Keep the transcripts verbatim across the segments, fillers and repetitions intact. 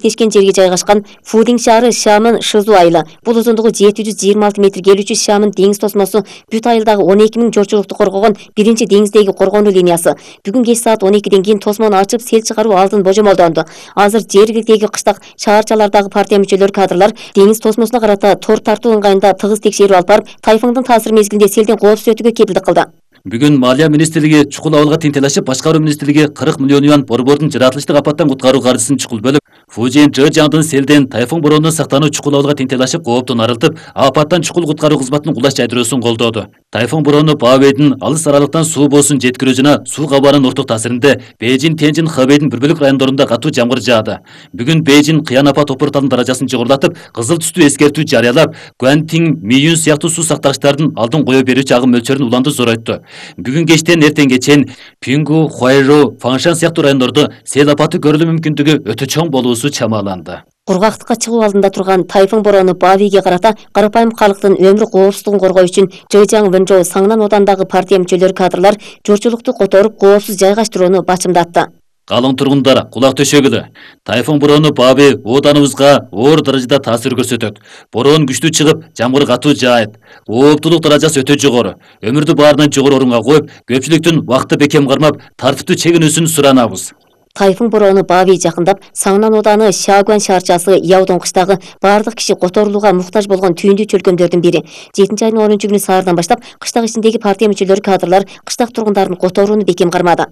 Тешкен жерге жайгашкан Фудин шаары Шамын Шызу айылы. Бул узундугу жети жүз жыйырма алты метр келүүчү Шамын деңиз тосмосу бүт айылдагы он эки миң журтчулукту коргогон биринчи деңиздеги коргонуу линиясы. Бүгүн кеч саат он экиден кийин тосмону ачып, сел чыгаруу алдын божомолдонду. Азыр жергиликтеги кыштак шаарчалардагы партия мүчөлөрү кадрлар деңиз тосмосуна карата тор тартуу ыңгайында тыгыз текшерүү алып барып, тайфундун таасиры мезгилинде селден коопсуз өтүүгө кепилдик кылды. Бүгүн Малия министрлиги чукул абалга тентелешип, башкаруу министрлиги кырк миллион юан борбордун жаратылыштык апаттан куткаруу каржысын чукул бөлүп, Фужин Жыжаңдын селден тайфун боронунан сактануу чукул абалга тентелешип, кооптон арылтып, апаттан чукул куткаруу кызматынын кулаш жайдыруусун колдоду. Тайфун борону Баобэйдин алыс аралыктан суу боосун жеткирүү жана суу кабарынын орток таасиринде Бейжин, Тенжин, Хэбэйдин бир бөлүк райондорунда катуу жамгыр жаады. Бүгүн Бейжин кыян апат опурталдын даражасын жогорулатып, кызыл түстүү эскертүү жарыялап, Гуантин, Миюн сыяктуу суу сактагычтардын алдын кое берүүчү агым мөлчөрүн уланды зоройтту. Бүгүн кечтен эртеңге чейин Пингу, Хуайжоу, Фаңшан сыяктуу райондордо сел апаты көрүлүү мүмкүндүгү өтө чоң болуусу чамаланды. Кургактыкка чыгуу алдында турган тайфун борону Баобэйге карата карапайым калктын өмүр коопсуздугун коргоо үчүн Жыжаң Вэнжоу Саңнан одандагы партия мүчөлөрү кадрлар журтчулукту которуп коопсуз жайгаштырууну бачымдатты. Калың тургундар, кулак төшөгүлө. Тайфун борону Баобэй оданыбызга оор даражада таасир көрсөтөт. Борон күчтүү чыгып, жамгыр катуу жаайт. Ооптулук даражасы өтө жогору. Өмүрдү баарынан жогору орунга коюп, көпчүлүктүн убакытты бекем кармап, тартиптүү чегинүүсүн суранабыз. Тайфун борону Баобэй жакындап, Саңнан оданы Шагуан шаарчасы Яудон кыштагы бардык киши которулууга муктаж болгон түйүндүү чөлкөмдөрдүн бири. жетинчи айдын онунчу күнү саардан баштап кыштак ичиндеги партия мүчөлөрү кадрлар кыштак тургундарын которууну бекем кармады.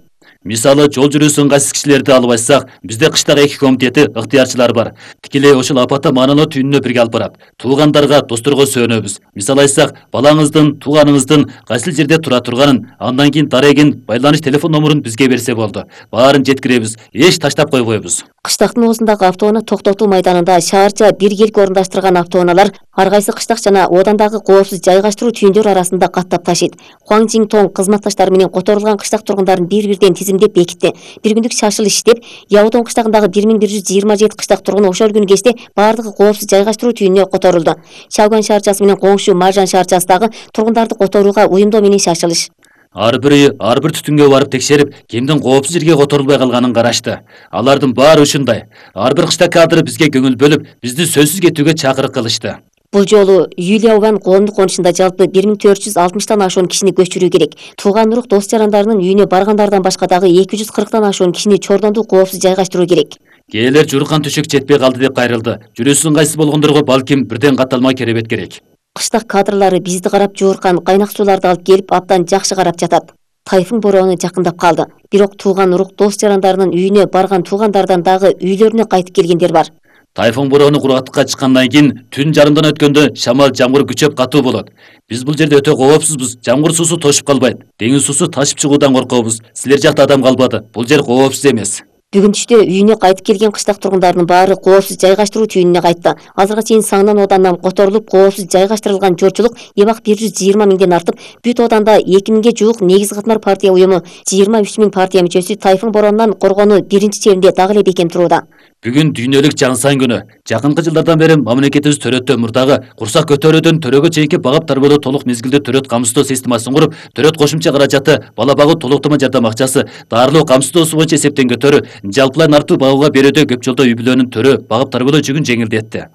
Мисалы, жол жүрүүсү ыңгайсыз кишилерди алып айтсак, бизде кыштак эки комитети ыктыярчылар бар. Тикелей ошол апатта маанилүү түйүнүнө бирге алып барат. Туугандарга, досторго сөөнөбүз. Мисалы айтсак, балаңыздын, тууганыңыздын кайсыл жерде тура турганын, андан кийин дарегин, байланыш телефон номерин бизге берсе болду. Баарын жеткиребиз, эч таштап койбойбуз. Кыштактын оозундагы автоунаа токтотуу майданында шаарча биргелик орундаштырган автоунаалар ар кайсы кыштак жана одандагы коопсуз жайгаштыруу түйүндөр арасында каттап ташыйт. Хуаң Жиңтоң кызматташтары менен которулган кыштак тургундарын бир-бирден тизимдеп бекитти. Бир күндүк шашылыш иштеп, Яудон кыштагындагы бир миң бир жүз жыйырма жети кыштак тургун ошол күнү кечте бардыгы коопсуз жайгаштыруу түйүнүнө которулду. Шагуан шаарчасы менен коңшу Маржан шаарчасындагы тургундарды которууга уюмдоо менен шашылыш. Ар бири ар бир түтүнгө барып текшерип, кимдин коопсуз жерге которулбай калганын карашты. Алардын баары ушундай. Ар бир кыштак кадры бизге көңүл бөлүп, бизди сөзсүз кетүүгө чакырык кылышты. Бул жолу Юлиаубан коомдук конушунда жалпы бир миң төрт жүз алтымыштан ашуун кишини көчүрүү керек. Тууган урук дос жарандарынын үйүнө баргандардан башка дагы эки жүз кырктан ашуун кишини чордондуу коопсуз жайгаштыруу керек. Кээлер журкан төшөк жетпей калды деп кайрылды. Жүрүүсү ыңгайсыз болгондорго балким бирден катталма керебет керек. Кыштак кадрлары бизди карап жууркан кайнак сууларды алып келип абдан жакшы карап жатат. Тайфун бороону жакындап калды. Бирок тууган урук дос жарандарынын үйүнө барган туугандардан дагы үйлөрүнө кайтып келгендер бар. Тайфун бороону кургактыкка чыккандан кийин түн жарымдан өткөндө шамал жамгыр күчөп катуу болот. Биз бул жерде өтө коопсузбуз. Жамгыр суусу тошуп калбайт. Деңиз суусу ташып чыгуудан коркобуз. Силер жакта адам калбады. Бул жер коопсуз эмес. Бүгүн түштө үйүнө кайтып келген кыштак тургундардын баары коопсуз жайгаштыруу түйүнүнө кайтты. Азыркыга чейин Саңнан оданынан которулуп коопсуз жайгаштырылган журтчулук эбак бир жүз жыйырма миңден артып, бүт оданда эки миңге жуук негизи катмар партия уюму, жыйырма үч миң партия мүчөсү тайфун боронунан коргонуу биринчи чебинде дагы эле бекем турууда. Бүгүн дүйнөлүк Жаңсан күнү. Жакынкы жылдардан бери мамлекетибиз төрөттө мурдагы курсак көтөрүүдөн төрөгө чейинки багып тарбылоо толук мезгилдүү төрөт камсыздоо системасын куруп, төрөт кошумча каражаты, бала багуу толуктама жардам акчасы, дарылоо камсыздоосу боюнча эсептен көтөрүү, жалпылай нартуу багууга берүүдө көп жолдо үй бүлөнүн төрө багып тарбылоо жүгүн жеңилдетти.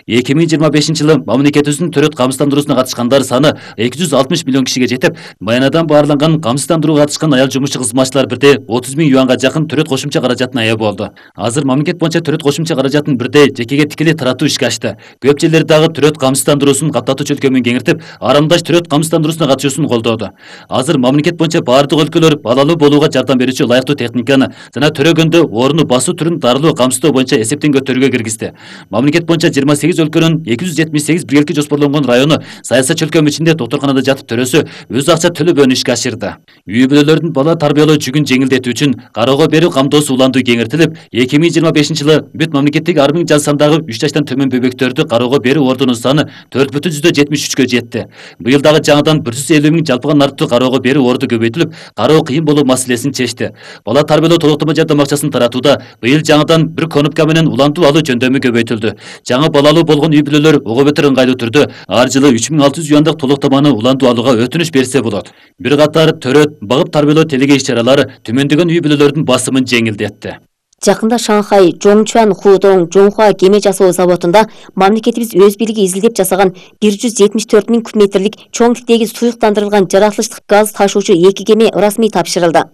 эки миң жыйырма бешинчи жылы мамлекетибиздин төрөт камсыздандыруусуна катышкандар саны эки жүз алтымыш миллион кишиге жетип, майнадан баарланган камсыздандырууга катышкан аял жумушчу кызматчылар бирде отуз миң юанга жакын төрөт кошумча каражатына ээ болду. Азыр мамлекет боюнча төрөт кошумча каражатын бирде жекеге тикелей таратуу ишке ашты. Көп жерлер дагы төрөт камсыздандыруусун каттатуу чөлкөмүн кеңиртип, арамдаш төрөт камсыздандыруусуна катышуусун колдоду. Азыр мамлекет боюнча бардык өлкөлөр балалуу болууга жардам берүүчү ылайыктуу техниканы жана төрөгөндө орну басуу түрүн дарылоо камсыздоо боюнча эсептен көтөрүүгө киргизди. Мамлекет боюнча жыйырма сегиз өлкөнүн эки жүз жетимиш сегиз биргеликке жоспорлонгон району саясат чөлкөмү ичинде доктурканада жатып төрөсү өз акча төлөбөөнү ишке ашырды. Үй бүлөлөрдүн бала тарбиялоо жүгүн жеңилдетүү үчүн кароого берүү камдоосу уланду кеңиртилип, эки миң жыйырма бешинчи жылы бүт мамлекеттеги ар миң жан сандагы үч жаштан төмөн бөбөктөрдү кароого берүү ордунун саны төрт бүтүн жүздөн жетимиш үчкө жетти. Быйыл дагы жаңыдан бир жүз элүү миң жалпыга нарттуу кароого берүү орду көбөйтүлүп, кароо кыйын болуу маселесин чечти. Бала тарбиялоо толуктама жардам акчасын таратууда быйыл жаңыдан бир конупка менен улантуу алуу жөндөмү көбөйтүлдү. Жаңы балалуу болгон үй бүлөлөр ого бетер ыңгайлуу түрдө ар жылы үч миң алты жүз юандык толуктаманы улантуу алууга өтүнүч берсе болот. Бир катар төрөт, багып тарбиялоо телеге иш чаралары төмөндөгөн үй бүлөлөрдүн басымын жеңилдетти. Жакында Шанхай Жоңчуан Худong Жоңхуа кеме жасоо заводунда мамлекетибиз өз бийлиги изилдеп жасаган бир жүз жетимиш төрт миң куб метрлик чоң типтеги суюктандырылган жаратылыштык газ ташуучу эки кеме расмий тапшырылды.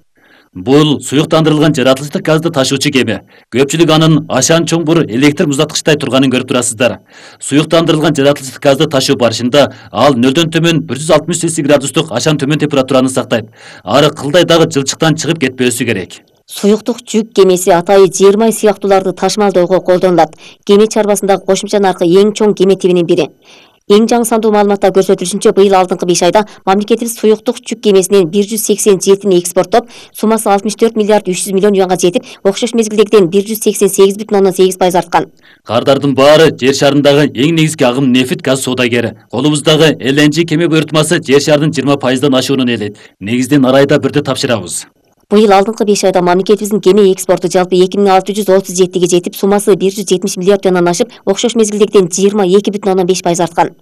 Бул суюктандырылган жаратылыштык газды ташуучу кеме. Көпчүлүк анын ашан чоңбур электр муздаткычтай турганын көрүп турасыздар. Суюктандырылган жаратылыштык газды ташуу барышында ал нөлдөн төмөн бир жүз алтымыш цельсий градустук ашан төмөн температураны сактайт. Ары кылдай дагы жылчыктан чыгып кетпөөсү керек. Суюктук жүк кемеси атайы жермай сыяктууларды ташмалдоого колдонулат. Кеме чарбасындагы кошумча наркы эң чоң кеме тибинин бири. Эң жаңы сандуу маалыматта көрсөтүлүшүнчө, быйыл алдыңкы беш айда мамлекетибиз суюктук жүк кемесинен бир жүз сексен жетини экспорттоп, суммасы алтымыш төрт миллиард үч жүз миллион юанга жетип, окшош мезгилдегиден бир жүз сексен сегиз бүтүн ондон сегиз пайыз арткан. Кардардын баары жер шарындагы эң негизги агым нефт газ соодагери. Колубуздагы эл эн жи кеме буйртмасы жер шарынын жыйырма пайыздан ашуунун элейт. Негизден арайда бирди тапшырабыз. Быйыл алдыңкы беш айда мамлекетибиздин кеме экспорту жалпы эки миң алты жүз отуз жетиге жетип, суммасы бир жүз жетимиш миллиард юандан ашып, окшош мезгилдегиден жыйырма эки бүтүн ондон беш пайыз арткан.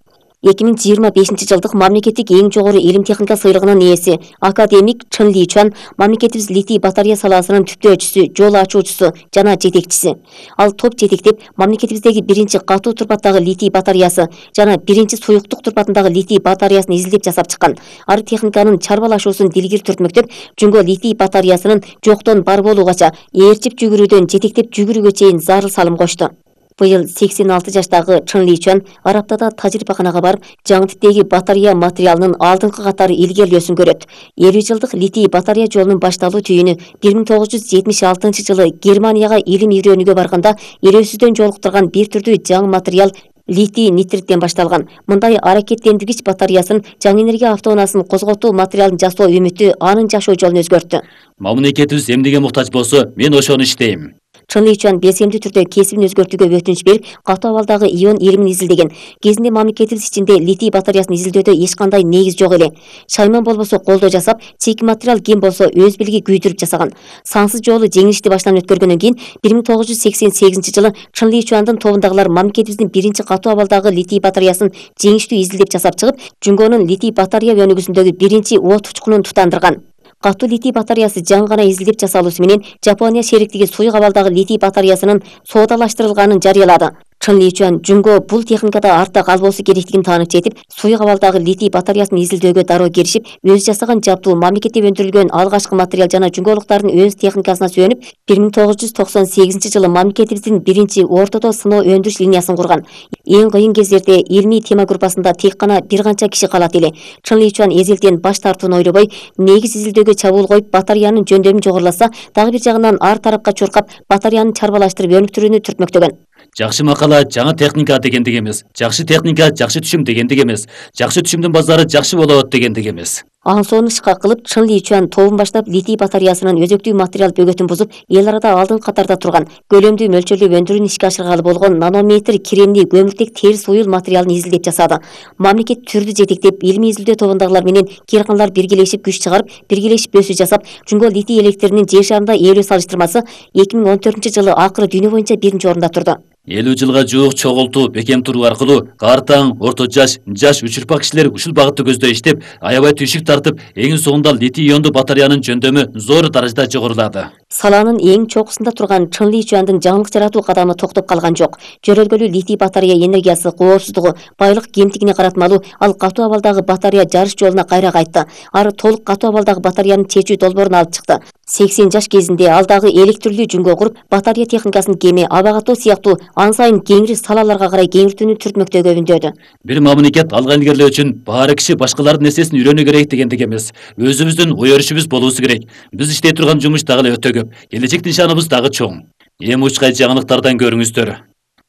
эки миң жыйырма бешинчи жылдык мамлекеттик эң жогору илим техника сыйлыгынын ээси академик Чын Личуан мамлекетибиз литий батарея саласынын түптөөчүсү, жол ачуучусу жана жетекчиси. Ал топ жетектеп, мамлекетибиздеги биринчи катуу турпаттагы литий батареясы жана биринчи суюктук турпатындагы литий батареясын изилдеп жасап чыккан. Ар техниканын чарбалашуусун дилгир түртмөктөп, Жүнгө литий батареясынын жоктон бар болуугача ээрчип жүгүрүүдөн жетектеп жүгүрүүгө чейин зарыл салым кошту. Быйыл сексен алты жаштагы Чын Личуан Араптада тажрыйбаканага барып, жаңы типтеги батарея материалынын алдыңкы катары илгерилөөсүн көрөт. элүү жылдык литий батарея жолунун башталуу түйүнү бир миң тогуз жүз жетимиш алтынчы жылы Германияга илим үйрөнүүгө барганда элөөсүздөн жолуктурган бир түрдүү жаңы материал литий нитриттен башталган. Мындай аракеттендиргич батареясын жаңы энергия автоунаасын козготуу материалын жасоо үмүтү анын жашоо жолун өзгөрттү. Мамлекетибиз эмнеге муктаж болсо, мен ошону иштейм. Чын Личуан белсемдүү түрдө кесибин өзгөртүүгө өтүнүч берип, катуу абалдагы ион илимин изилдеген. Кезинде мамлекетибиз ичинде литий батареясын изилдөөдө эч кандай негиз жок эле. Шайман болбосо колдоо жасап, чийки материал ким болсо өз билиги күйдүрүп жасаган. Сансыз жолу жеңилишти баштан өткөргөндөн кийин бир миң тогуз жүз сексен сегизинчи жылы Чын Личуандын тобундагылар мамлекетибиздин биринчи катуу абалдагы литий батареясын жеңиштүү изилдеп жасап чыгып, Жүнгөнүн литий батарея өнүгүүсүндөгү биринчи от учкунун тутандырган. Катуу литий батареясы жаңы гана изилдеп жасалуусу менен Жапония шериктиги суюк абалдагы литий батареясынын соодалаштырылганын жарыялады. Чын Личуан Жүнгө бул техникада артта калбоосу керектигин таанып жетип, суюк абалдагы литий батареясын изилдөөгө дароо киришип, өзү жасаган жабдуу мамлекетте өндүрүлгөн алгачкы материал жана жүнгөлуктардын өз техникасына сүйөнүп, бир миң тогуз жүз токсон сегизинчи жылы мамлекетибиздин биринчи ортодо сыноо өндүрүш линиясын курган. Эң кыйын кездерде илмий тема группасында тек гана бир канча киши калат эле. Чын Личуан эзелтен баш тартууну ойлобой, негиз изилдөөгө чабуул коюп, батареянын жөндөмү жогоруласа, дагы бир жагынан ар тарапка чуркап, батареяны чарбалаштырып өнүктүрүүнү түртмөктөгөн. Жакшы макала жаңы техника дегендик эмес. Жакшы техника жакшы түшүм дегендик эмес. Жакшы түшүмдүн базары жакшы болот дегендик эмес. Ансоону ышкак кылып, Чын Личуан тобун баштап литий батареясынын өзөктүү материал бөгөтүн бузуп, эл арада алдыңкы катарда турган, көлөмдүү мөлчөрлөп өндүрүүнү ишке ашыргалы болгон нанометр кремний көмүртек терс уюл материалын изилдеп жасады. Мамлекет түрдү жетектеп, илимий изилдөө тобундагылар менен кирканлар биргелешип күч чыгарып, биргелешип өсүү жасап, Жүнгө литий электринин жер шарында ээлөө салыштырмасы эки миң он төртүнчү жылы акыры дүйнө боюнча биринчи орунда турду. элүү жылга жуук чогултуу бекем туруу аркылуу картаң, орто жаш, жаш учурпак кишилер ушул багытты көздөй иштеп, аябай түйшүк тартып, эң соңунда литий иондуу батареянын жөндөмү зор даражада жогорулады. Саланын эң чокусунда турган Чын Личуандын жаңылык жаратуу кадамы токтоп калган жок. Жөрөлгөлүү литий батарея энергиясы коопсуздугу, байлык кемтигине каратмалуу, ал катуу абалдагы батарея жарыш жолуна кайра кайтты. Ары толук катуу абалдагы батареянын чечүү долбоорун алып чыкты. сексен жаш кезинде ал дагы электрлүү жүнгө куруп, батарея техникасын кеме, аба катуу сыяктуу ан сайын кеңири салаларга карай кеңиртүүнү түртмөктөгө үндөөдү. Бир мамлекет алга илгерилөө үчүн баары киши башкалардын нерсесин үйрөнүү керек дегендик эмес. Өзүбүздүн ой өрүшүбүз болуусу керек. Биз иштей турган жумуш дагы эле өтө көп. Келечектин шаныбыз дагы чоң. Эми учкай жаңылыктардан көрүңүздөр.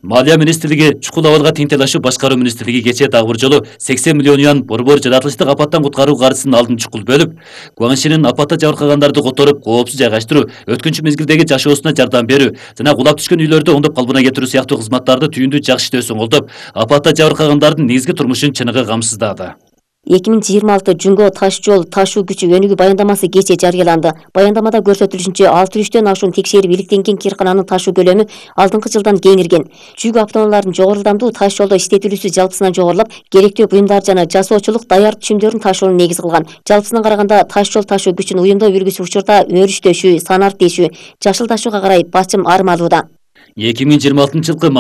Малия министрлиги чукул абалга тең талашуу башкаруу министрлиги кечээ дагы бир жолу сексен миллион юан борбор жаратылыштык апаттан куткаруу каржысын алдын чукул бөлүп, Гуаншинин апатта жабыркагандарды которуп, коопсуз жайгаштыруу, өткүнчү мезгилдеги жашоосуна жардам берүү жана кулап түшкөн үйлөрдү оңдоп калпына кетирүү сыяктуу кызматтарды түйүндүү жакшы иштөөсүн колдоп, апатта жабыркагандардын негизги турмушун чыныгы камсыздады. эки миң жыйырма алты Жүнгө таш жол ташуу күчү өнүгүү баяндамасы кечээ жарыяланды. Баяндамада көрсөтүлүшүнчө алты жүздөн ашуун текшерип иликтенген киркананын ташуу көлөмү алдыңкы жылдан кеңирген. Жүк автоунааларынын жогору ылдамдуу таш жолдо иштетилүүсү жалпысынан жогорулап, керектүү буюмдар жана жасоочулук даяр түшүмдөрүн ташууну негиз кылган. Жалпысынан караганда таш жол ташуу күчүн уюмдоо үлгүсү учурда өрүштөшү, санарт тешүү, жашыл ташууга карай басым армалууда. эки миң жыйырма алтынчы жылкы